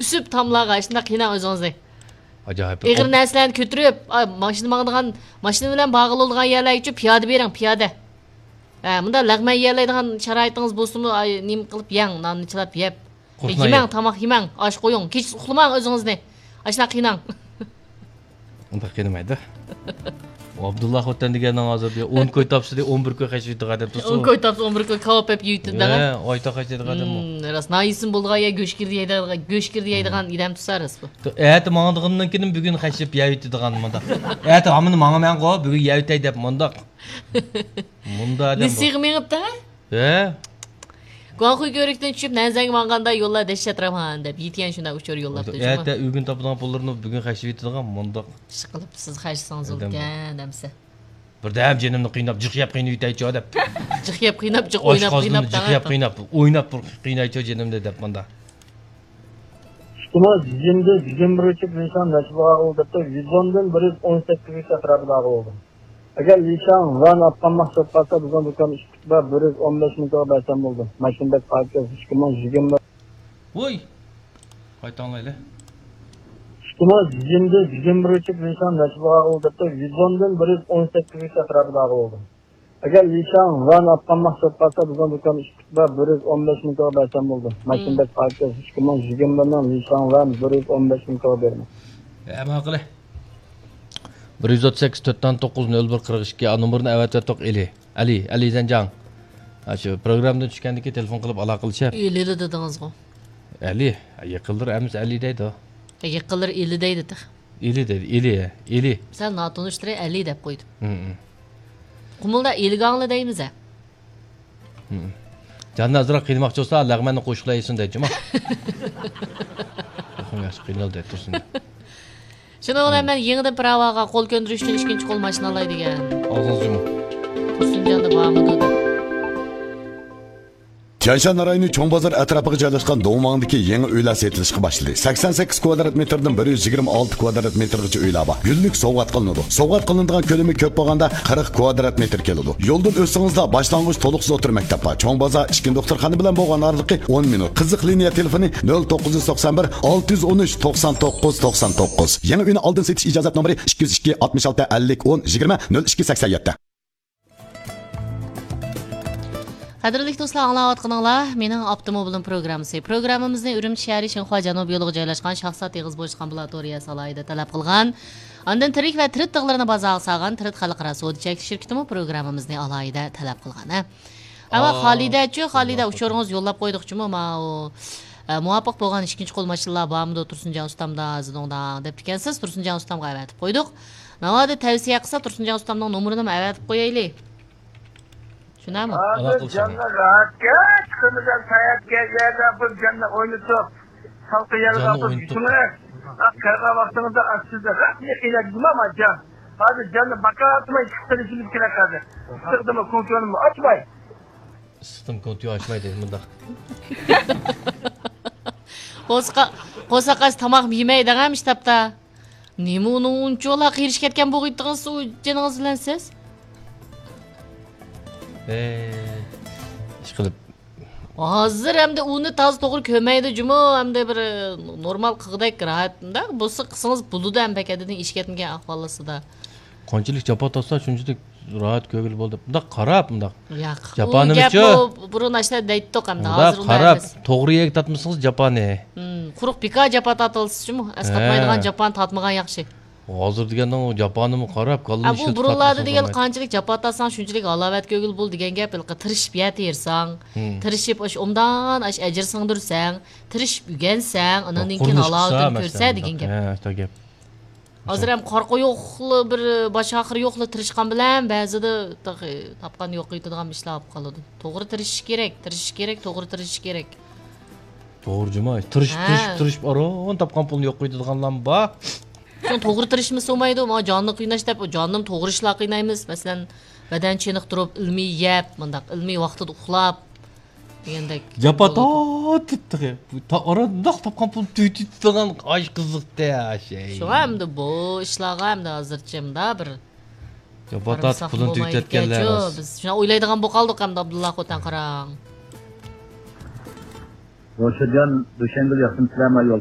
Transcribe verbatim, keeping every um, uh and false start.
ئۈسۈپ تاملارغا، شۇنداق قىيناڭ ئۆزىڭىزنى. ئاجايىپ. ئېغىر نەرسىلەرنى كۆتۈرۈپ، ئا، ماشىنا ماڭىدىغان، ماشىنا بىلەن بارغىلى بولىدىغان يەرلەرگىچە پىيادە بېرىڭ، پىيادە. ھە، مۇنداق لەغمەن يېيەلەيدىغان شارائىتىڭىز بولسىمۇ، ئاي، نېمە قىلىپ يەڭ، ناننى چىلاپ يەپ. قۇرۇقلاپ يېمەڭ، يەپ. تاماق يېمەڭ، ئاش قويۇڭ، كېچىسى ئۇخلىماڭ ئۆزىڭىزنى. ئاشۇنداق قىيناڭ. ئۇنداق قىينىمايدۇ. ئابدۇللا خوتەن دېگەننىڭ ھازىر بىر ئون كوي تاپسا، ئون بىر كوي خەجلەيدىغان ئادەم تۇرسۇن. ئون كوي تاپسا، ئون بىر كوي كاۋاپ يەپ يېيىۋېتىدۇ دەڭە. ھە، ئايتا خەجلەيدىغان ئادەم ئۇ. ھىم، راست، ناھىيىسىمۇ بولغان يەر گۆش كىردى يەيدىغان، گۆش كىردى يەيدىغان ئادەم تۇرسا راست بۇ. ئەتە ماڭىدىغاندىن كېيىن بۈگۈن خەجلەپ يەيۋېتىدىغان مۇنداق. ئەتە ھامىنى ماڭىمەنغۇ، بۈگۈن يەيۋېتەي دەپ مۇنداق. مۇنداق ئادەم بۇ. نېسىگە مېڭىپتۇ؟ ھە؟ گۇاڭخۇي كۆۋرۈكتىن چۈشۈپ نەنزەڭگە ماڭغاندا يوللار دەھشەت راۋان دەپ، يىتيەن شۇنداق ئۇچۇر يوللاپتۇ جۇمۇ. ئەتە ئۆگۈن تاپىدىغان پۇللىرىنى بۈگۈن خەجلىۋېتىدىغان مۇنداق. ئىشقىلىپ سىز خەجلىسىڭىز ئادەم بۇ. بولىدىكەن دەمسە. بىردەم جېنىمنى قىيناپ، جىق يەپ قىينىۋېتەيچۇ دەپ. جىق يەپ قىيناپ، جىق ئويناپ ئاشقازىنىمنى قىيناپ جىق يەپ قىيناپ، ئويناپ بىر قىينايچۇ جېنىمنى دەپ مۇنداق. ئىككى مىڭ يىگىرمە بىر يىگىرمە بىر ئۆچۈپ لىشاڭ نەچچە بار ئالدى دەپتۇ، يۈز ئون دىن بىر يۈز ئون سەككىز ئەتراپىدا ئالدى. ئەگەر لىشاڭ ۋەن ئاپقان مەھسۇلات بارسا، بىزنىڭ دۇكان ئىشلىتىپ بار، بىر يۈز ئون بەش مىڭ توغرا بەرسەم بولدى. ماشىنا بەك پاكىز، ئىككى مىڭ يىگىرمە. ۋوي! قايتا ئاڭلايلى. ئىككى مىڭ يىگىرمە بىر يىگىرمە بىر ئۆچۈپ لىشاڭ نەچچە بار ئالدى دەپتۇ، يۈز ئون دىن بىر يۈز ئون سەككىز ئەتراپىدا ئالدى. ئەگەر لىشاڭ ۋەن ئاپقان مەھسۇلات بارسا، بىزنىڭ دۇكان ئىشلىتىپ بار، بىر يۈز ئون بەش مىڭ توغرا بەرسەم بولدى. ماشىنا بەك پاكىز، ئىككى مىڭ يىگىرمە بىرنىڭ لىشاڭ ۋەن بىر يۈز ئون بەش مىڭ توغرا بېرىمەن. ئەمما قىلى. بىر يۈز ئوتتۇز سەككىز، تۆت تۆت توققۇز، نۆل بىر، قىرىق ئىككى، ئا، نومۇرىنى ئەۋەتىۋەتتۇق، ئېلى. ئەلى، ئەلى زەنجاڭ. ئاشۇ پروگراممىدىن چۈشكەندىن كېيىن تېلېفون قىلىپ ئالاقىلىشىپ. ئېلى دېدىڭىزغۇ. ئەلى، يېقىنلىرى ئەمىسە ئەلى دەيدۇ. يېقىنلىرى ئېلى دەيدۇ تېخى. ئېلى دەيدۇ، ئېلى، ئېلى. سەل ناتونۇشلىرى ئەلى دەپ قويدۇم. ھىم، ھىم. قۇمۇلدا ئېلىگاڭلى دەيمىز ھە. ھىم. جاننى ئازراق قىينىماقچى بولسا، لەغمەننى قوشۇقلا يېسۇن دەيدۇ جۇمۇ. ياخشى قىينالدى، تۇرسۇن. شۇنىڭ بىلەن مەن يېڭىدىن پىراۋاغا قول كۆندۈرۈش ئۈچۈن ئىككىنچى قول ماشىنا ئالاي دېگەن. ئاغزىڭىز يۇمۇڭ. تۇرسۇنجاندا بارمىدۇ دەپ. تيەنشان رايونى چوڭ بازار ئەتراپىغا جايلاشقان دوڭماڭدىكى يېڭى ئۆيلەر سېتىلىشقا باشلىدى. سەكسەن سەككىز كۋادرات مېتىردىن بىر يۈز يىگىرمە ئالتە كۋادرات مېتىرغىچە ئۆيلەر بار. گۈللۈك سوۋغات قىلىنىدۇ. سوۋغات قىلىنىدىغان كۆلىمى كۆپ بولغاندا قىرىق كۋادرات مېتىر كېلىدۇ. يولدىن ئۆتسىڭىزلا باشلانغۇچ تولۇقسىز ئوتتۇرا مەكتەپ بار. چوڭ بازار ئىچكى دوختۇرخانا بىلەن بولغان ئارىلىقى ئون مىنۇت. قىزىق لىنىيە تېلېفونى نۆل توققۇز يۈز توقسان بىر، ئالتە يۈز ئون ئۈچ، توقسان توققۇز، توقسان توققۇز. يېڭى ئۆينى ئالدىن سېتىش ئىجازەت نومۇرى ئىككى يۈز ئىككى، ئاتمىش ئالتە، ئەللىك، ئون، يىگىرمە، نۆل ئىككى، سەكسەن يەتتە. قەدىرلىك دوستلار، ئاڭلاۋاتقىنىڭلار مېنىڭ ئاپتوموبىلىم پروگراممىسى. پروگراممىمىزنى ئۈرۈمچى شەھىرى شىنخۇا جەنۇبىي يولىغا جايلاشقان شاھزات ئېغىز بوشلۇق ئامبۇلاتورىيەسى ئالاھىدە تەلەپ قىلغان. ئاندىن تىرىك ۋە تىرىت تىغلىرىنى بازارغا سالغان تىرىت خەلقئارا سودا چەكلىك شىركىتىمۇ پروگراممىمىزنى ئالاھىدە تەلەپ قىلغان. ھە. ئەمما ئا، خالىدەچۇ، خالىدە ئۇچۇرىڭىزنى يوللاپ قويدۇقچۇمۇ ماۋۇ، ئە، مۇۋاپىق بولغان ئىككىنچى قول ماشىنىلار بارمىدۇ تۇرسۇنجان ئۇستامدا، زىدوڭداڭ دەپتىكەنسىز، تۇرسۇنجان ئۇستامغا ئەۋەتىپ قويدۇق. ناۋادا تەۋسىيە قىلسا، تۇرسۇنجان ئۇستامنىڭ نومۇرىنىمۇ ئەۋەتىپ قويايلى. شۇنداقمۇ؟ ھازىر جاننى راھەتكە، چىقىمىزدا ساياھەتكە، يەردە بىر جاننى ئوينىتىپ، سالقىن يەرگە ئاپىرىپ يېتىڭلار. قىرغان ۋاقتىڭىزدا ئاستىدا راست يېقىنلار جۇما جان. ھازىر جاننى باكاتماي چىقىپ قېلىشىمىز كېرەك ھازىر. ئىسسىقتىمۇ كونترولىمۇ ئاچماي. ئىسسىقتىمۇ كونترول ئاچماي دەيدۇ مۇنداق. قورسىقى، قورساق ئاچ تاماق يېمەي دەڭەم شتابتا. نېمە ئۇنىڭ ئۇنچىۋالا قېرىشىپ كەتكەن بولغىيتتىڭىز ئۇ جېنىڭىز بىلەن سىز؟ ئەي، ئىشقىلىپ. ھازىر ئەمدى ئۇنى تازا توغرا كۆرمەيدۇ جۇمۇ، ئەمدى بىر، ئە، نورمال قىلغۇدەك راھەت. مۇنداق بولسا قىلسىڭىز بولىدۇ ھەم پەقەت دېدىڭ ئىشىپ كەتمىگەن ئەھۋال ئاستىدا. قانچىلىك جاپا تارتسا شۇنچىلىك راھەت كۆرگىلى بولىدۇ. مۇنداق قاراپ، مۇنداق. ياق، جاپانى ئۇ گەپ بىچۇ؟ بۇ بۇرۇن ئاشۇنداق دەيتتۇق ئەمدى، مۇنداق ھازىر ئۇنداق قاراپ، ئەمەس. توغرا يەرگە تارتمىسىڭىز جاپانى. ھىم، قۇرۇق بىكار جاپا تارتىلسىچۇمۇ، ئەسقاتمايدىغان ھە. جاپانى تارتمىغان ياخشى. ھازىر دېگەننىڭ جاپانىمۇ قاراپ، كاللىنى ئە، بۇ ئىشلىتىپ بۇرۇنلاردا تارتمىسا دېگەن بولمايدۇ. قانچىلىك جاپا تارتساڭ، شۇنچىلىك ھالاۋەت كۆرگىلى بولىدۇ دېگەن گەپ، ھېلىقى تىرىشىپ يەر تېرىساڭ، ھىم. تىرىشىپ ئاشۇ ئوبدان ئاشۇ ئەجىر سىڭدۈرسەڭ، تىرىشىپ ئۆگەنسەڭ، ئاناندىن كېيىن قۇرۇلۇش قىلسا ھالاۋىتىنى مەسىلەن كۆرسە مۇنداق. دېگەن گەپ. ھە، شۇنداق گەپ. ھازىر ھەم قارا قويۇقلا بىر باش ئاخىرى يوقلا تىرىشقان بىلەن بەزىدە تېخى تاپقان يوق قىلىدىغان ئىشلار بولۇپ قالىدۇ. توغرا تىرىشىش كېرەك، تىرىشىش كېرەك، توغرا تىرىشىش كېرەك. توغرا جۇما، تىرىشىپ، ھە. تىرىشىپ، تىرىشىپ، ئاران تاپقان پۇلنى يوق قىلىدىغانلارمۇ بار. شۇڭا توغرا تىرىشمىسا بولمايدۇ. مانا جاننى قىيناش دەپ، جاننىمۇ توغرا ئىشلار قىينايمىز. مەسىلەن، بەدەن چېنىقتۇرۇپ، ئىلمىي يەپ، مۇنداق ئىلمىي ۋاقتىدا ئۇخلاپ، دېگەندەك جاپا بولىدۇ. تارتىپ تېخى. تا-، ئاران مۇنداق تاپقان پۇلنى تۈگىتىدىغان ئاش قىزىقتى، ئاشەي. شۇڭا ئەمدى بۇ ئىشلارغا ئەمدى ھازىرچە مۇنداق بىر جاپا تارتىپ قارىمىساق پۇلىنى بولمايدىكەنچۇ. تۈگىتىۋەتكەنلەر راست. بىز شۇنداق ئويلايدىغان بولۇپ قالدۇق ئەمدى، ئابدۇللا خوتەن قاراڭ. روشەنجان، دۈشەنگۈل ياخشىمۇسىلەر؟ مانا يول